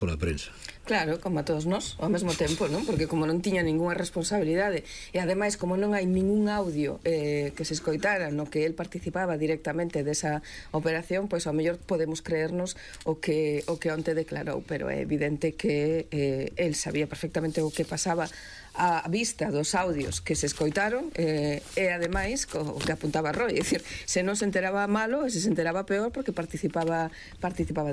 pola prensa. Claro, como a todos nós, ao mesmo tempo, non? Porque como non tiña ningunha responsabilidade e ademais como non hai ningún audio que se escoitara no que el participaba directamente desa operación, pois ao mellor podemos creernos o que onte declarou, pero é evidente que el sabía perfectamente o que pasaba a vista dos audios que se escoitaron e ademais o que apuntaba Roy, é dicir, se non se enteraba malo e se enteraba peor porque participaba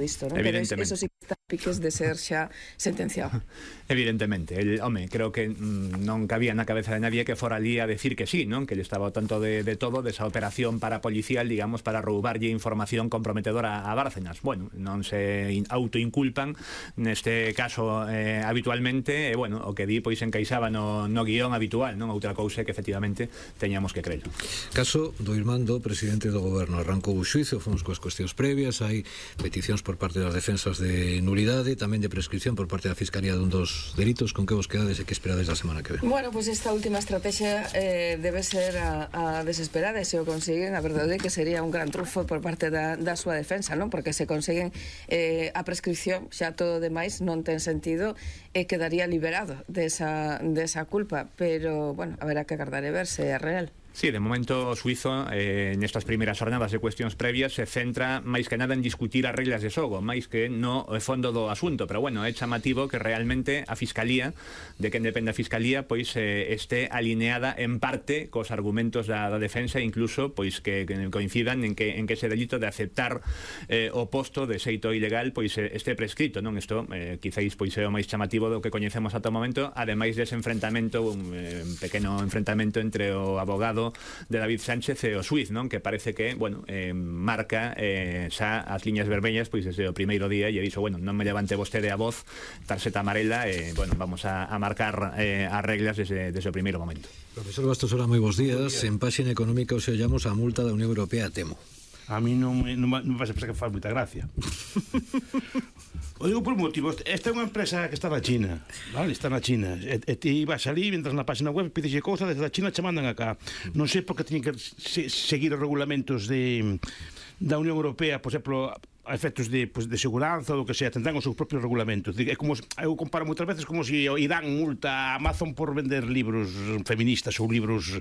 disto, non? Pero eso sí que está piques de ser xa sentenciado. Evidentemente, home, creo que non cabía na cabeza de nadie que fora ali a decir que sí, non? Que lle estaba ao tanto de todo, desa operación parapolicial, digamos, para roubarlle información comprometedora a Bárcenas. Bueno, non se autoinculpan neste caso habitualmente, e bueno, o que di pois encaixaba no guión habitual, non? Outra cousa que efectivamente teñamos que creer. Caso do irmán do presidente do goberno, arrancou o xuizo, fomos coas cuestións previas, hai peticións por parte das defensas de nulidade, tamén de prescripción por parte da Fiscalía dun dos delitos. Con que vos quedades e que esperades da semana que ven? Bueno, pois esta última estrategia debe ser a desesperada, e se o consiguen, a verdade é que sería un gran trunfo por parte da súa defensa, non? Porque se consiguen a prescripción, xa todo demais non ten sentido e quedaría liberado desa culpa, pero, bueno, haberá que agardar e ver se é real. Sí, de momento o suizo nestas primeiras jornadas de cuestións previas se centra máis que nada en discutir as reglas de xogo, máis que no fondo do asunto, pero bueno, é chamativo que realmente a Fiscalía, de quen depende a Fiscalía, pois este alineada en parte cos argumentos da defensa, incluso pois que coincidan en que ese delito de aceptar o posto de xeito ilegal pois este prescrito, non? Isto quizáis pois é o máis chamativo do que coñecemos ata o momento, ademais dese enfrentamento, un pequeno enfrentamento entre o abogado de David Sánchez e o xuiz, non? Que parece que, bueno, marca xa as liñas vermellas pois desde o primeiro día, e dixo, bueno, non me levante vostede a voz, tarxeta amarela, bueno, vamos a marcar as reglas desde o primeiro momento. Profesor Bastosola, moi bons días. En Páxina Económica os ollamos a multa da Unión Europea, temo. A mí non me vas a pensar que faz moita gracia. O digo por motivos. Esta é unha empresa que está na China, vale? Está na China. E ti vas ali, entras na página web, pides cousa, desde a China che mandan acá. Non sei por que teñen que seguir os regulamentos da Unión Europea, por exemplo, a efectos de seguranza ou do que sea, tendrán os seus propios regulamentos. É como, eu comparo moitas veces como se irán multa a Amazon por vender libros feministas ou libros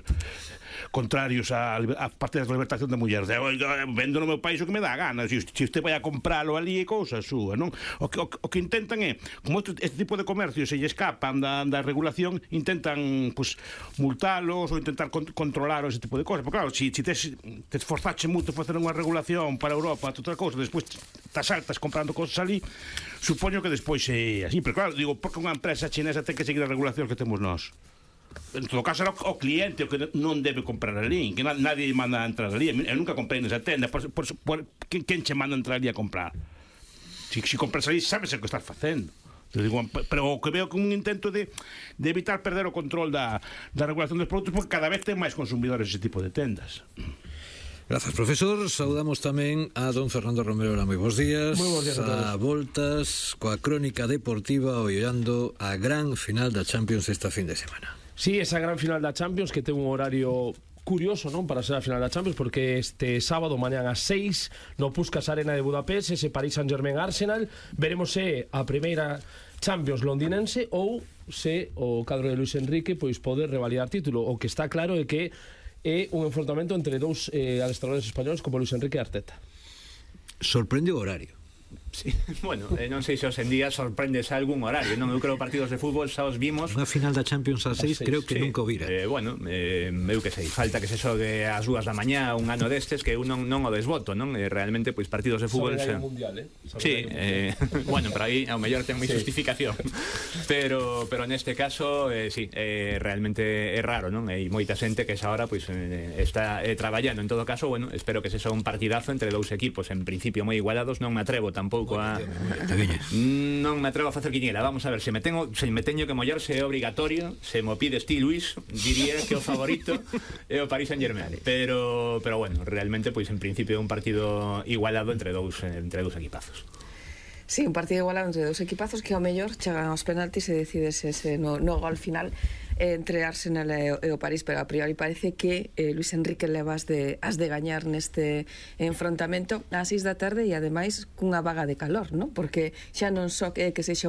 contrarios a parte da libertación da muller. Vendo no meu país o que me dá a gana. Se usted vai a compralo ali é cousa súa, non? O que intentan é, como este tipo de comercios se lle escapan da regulación, intentan multalos ou intentar controlar ese tipo de cosas. Porque claro, se te esforzache moito facer unha regulación para Europa, outra cousa, despois te saltas comprando cosas ali, supoño que despois é así. Pero claro, digo, porque unha empresa chinesa ten que seguir a regulación que temos nós. En todo caso era o cliente o que non debe comprar ali, que nadie manda a entrar ali. Eu nunca comprei nesa tenda. Quen che manda a entrar ali a comprar? Se compras ali, sabes o que estás facendo. Pero o que veo como un intento de evitar perder o control da regulación dos produtos, porque cada vez ten máis consumidores ese tipo de tendas. Grazas, profesor. Saudamos tamén a don Fernando Romero. Moi bons días. Moi bons días a todos. A voltas coa crónica deportiva, ollando a gran final da Champions esta fin de semana. Sí, esa gran final da Champions que ten un horario curioso, non, para ser a final da Champions, porque este sábado mañán ás 6 no Puskás Arena de Budapest, ese Paris Saint-Germain Arsenal, veremos se a primeira Champions londinense ou se o cadro de Luis Enrique pois poder revalidar título. O que está claro é que é un enfrontamento entre dous adestradores españoles como Luis Enrique e Arteta. Sorprende o horario. Sí, bueno, non sei se os en día sorprendes algún horario, non? Eu creo partidos de fútbol xa os vimos. Unha final da Champions a 6 creo que sí, nunca o vira. Bueno, eu que sei, falta que se xogue ás 2 da mañá un ano destes que eu non o desboto, non? Realmente, pois partidos de fútbol xa... mundial, sí, bueno, pero aí ao mellor ten moi justificación. Pero neste caso, sí, realmente é raro, non? Hai moita xente que esa hora pois está traballando. En todo caso, bueno, espero que se xa un partidazo entre dous equipos en principio moi igualados. Non me atrevo tampouco non me atrevo a facer quiniela. Vamos a ver, se me teño que mollar, se é obrigatorio, se mo pides ti, Luis, diría que o favorito é o Paris Saint-Germain, pero bueno, realmente pois en principio é un partido igualado entre dous equipazos. Sí, un partido igualado entre dos equipazos que ao mellor chegan aos penaltis e decides ese no gol final entre Arsenal e o París, pero a priori parece que Luis Enrique leva as de gañar neste enfrontamento ás 6 da tarde e ademais cunha vaga de calor, non? Porque xa non só que sexa